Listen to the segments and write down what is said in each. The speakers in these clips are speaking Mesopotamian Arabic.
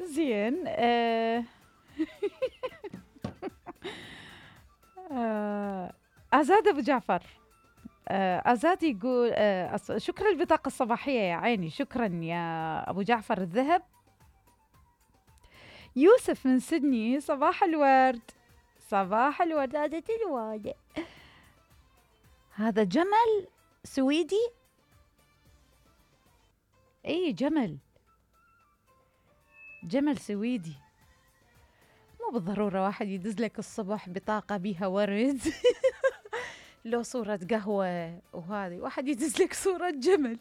زين. آزاد أبو جعفر. آزاد يقول شكرا البطاقة الصباحية يا عيني، شكرا يا أبو جعفر الذهب. يوسف من سيدني، صباح الورد. صباح الورد. هذا جمل سويدي. اي جمل سويدي. مو بالضرورة واحد يدز لك الصبح بطاقة بيها ورد لو صورة قهوة، وهذه واحد يدز لك صورة جمل.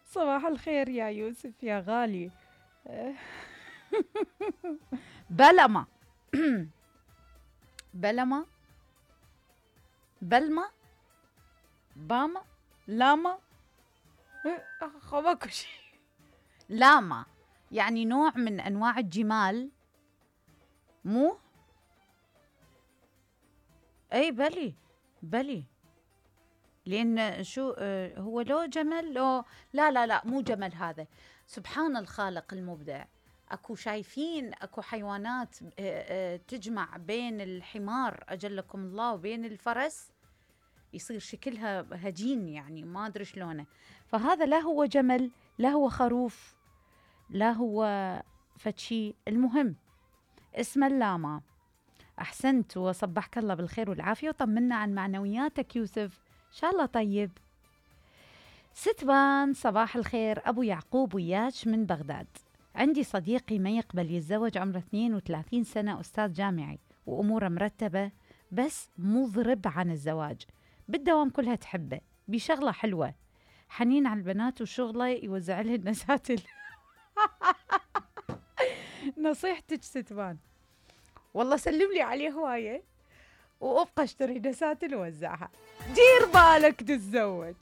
صباح الخير يا يوسف يا غالي. بلما. بلما، بلما، باما، لاما، ماكو شيء. لاما يعني نوع من أنواع الجمال، مو؟ أي بلي لأن شو هو لو جمل لو لا مو جمل هذا. سبحان الخالق المبدع. أكو شايفين أكو حيوانات تجمع بين الحمار أجلكم الله وبين الفرس، يصير شكلها هجين، يعني ما أدري شلونه. فهذا لا هو جمل لا هو خروف لا هو فتشي، المهم اسمه اللاما. أحسنت وصبحك الله بالخير والعافية، وطمنا عن معنوياتك يوسف، إن شاء الله طيب. ستبان صباح الخير، أبو يعقوب وياش من بغداد. عندي صديقي ما يقبل يتزوج، عمره 32 سنة، أستاذ جامعي وأموره مرتبة، بس مضرب عن الزواج، بالدوام كلها تحبه، بشغلة حلوة، حنين على البنات، وشغله يوزع لهن نساتل. نصيحتك ستبان، والله سلم لي عليه هواية وأبقى اشتري نساتل ووزعها. دير بالك تتزوج.